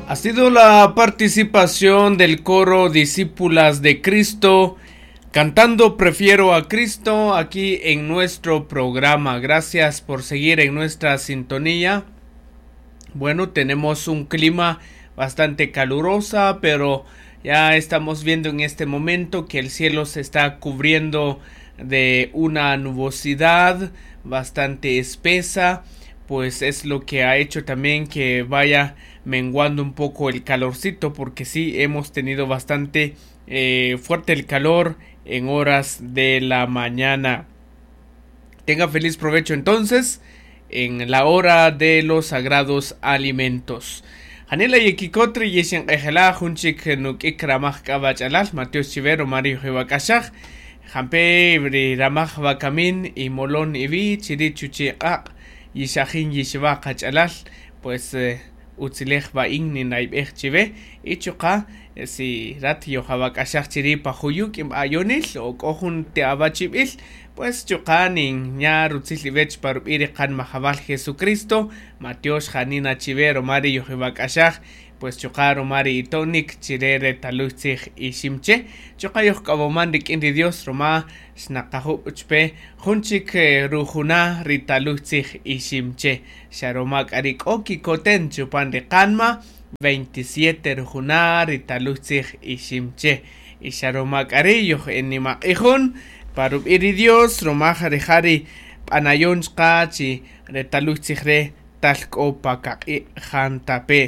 Ha sido la participación del coro Discípulas de Cristo cantando Prefiero a Cristo aquí en nuestro programa. Gracias por seguir en nuestra sintonía. Bueno, tenemos un clima bastante calurosa, pero ya estamos viendo en este momento que el cielo se está cubriendo de una nubosidad bastante espesa, pues es lo que ha hecho también que vaya menguando un poco el calorcito, porque sí hemos tenido bastante fuerte el calor en horas de la mañana. Tenga feliz provecho entonces en la hora de los sagrados alimentos. Janila yekikotri yeshenq'ejela junchik nuk'ik ramaj k'abach'alal Mateo Chivero Mario Jiwak'axaj jampe ri ramaj wakamin y molon iwi chiri chuchi q'aq' yixajin yixwa qach'alal pues utzilej ba'in ninayb'ej chiwe y chuqa si rat yojawak'axaj chiri pa juyuk ayonil o k'o jun te'awachib'il pues chuqa nin ña rutzil iwech pa rub'i ri qan majawal Jesucristo Mateox janina chiwe romari yojiwak'axaj pues chuqa romari itonik chire re taluy tzij iximche chuqa yojk'awoman rik'in ri Dios roma xnaqajub' chpe jun chik rujuna ri taluy tzij iximche xa roma k'a ri k'o kikoten chupan ri qanma 27 rujuna ri taluy tzij iximche y xa roma k'a ri yoj enimaq'ijun pa rub'i ri Dios roma rija' ri b'anayon chqa chi re taluy tzij re tal k'o pa kaq'i' jantape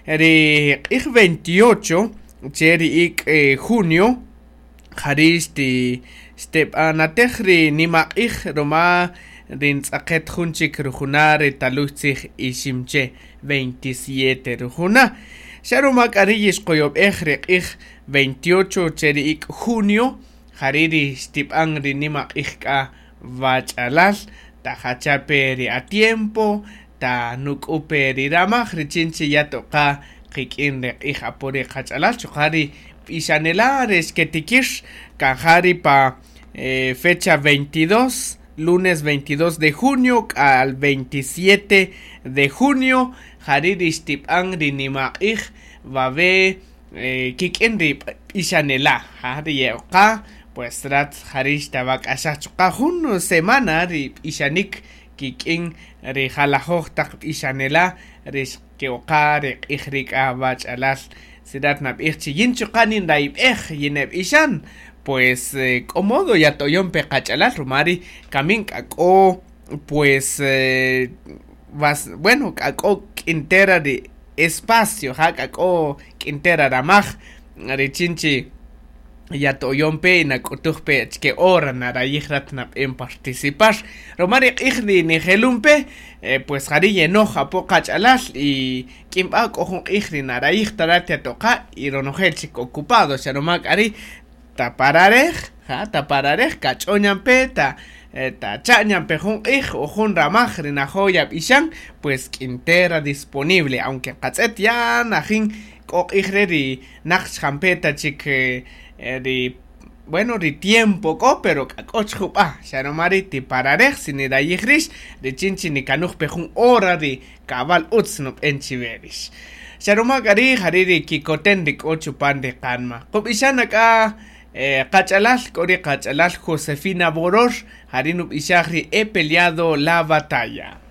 ri q'ij 28 che ri ik' junio jari xteb'anatej ri nimaq'ij roma ri ntz'aqet jun chik rujuna ri taluy tzij iximche 27 rujuna xa roma k'a ri yixqoyob'ej ri q'ij 28 che ri ik' junio jari ri xtib'an ri nimaq'ij k'a wach'alal tajachape ri atiempo ta nuk'upe ri ramaj richin chi ya toqa qik'in ri q'ij apo ri qach'alal chuqa' ri b'ixanela ri xketikir kan ja ri pa fecha 22 lunes 22 de junio al 27 de junio jari ri xtib'an ri nimaq'ij wawe kik'in ri b'ixanela ja ri ye'oqa pues rat jari xtawak'axaj chuqa' jun semana ri b'ixanik kik'in ri jalajoj taq b'ixanela ri xke'oqa ri q'ij ri k'a wach'alal si rat nab'ij chi yin chuqa' ninrayb'ej yineb'ixan pues k'o modo yatoyon pe qach'alal ruma ri kamin k'a k'o pues bueno k'a k'o k'intera ri espacio ja k'a k'o k'intera ramaj richin chi yatoyon pe nak'utuj pe achike hora narayij rat nab'en participar ruma ri q'ij ri nijelun pe pues jari yenoj apo qach'alal y k'inb'a k'o jun q'ij ri narayij ta rat yatoqa y ronojel chik ocupado xa ruma k'a ri tapararej ja tapararej kach'oñan pe ta tacha'ñan pe jun q'ij o jun ramaj ri najo yab'ixan pues k'intera disponible aunque qatz'et ya najin k'o q'ij re ri naq xjampeta chik ri bueno ri tiempo k'o pero k'a k'o chjub'a xa ruma ri tipararej si nirayij rix richin chi nikanuj pe jun hora ri kab'al utz nub'en chiwe rix xa ruma k'a ri jari ri kikoten ri k'o chupan ri qanma qub'ixan ak'a qach'alal k'o ri qach'alal Josefina Boror jari nub'ixaj ri he peleado la batalla.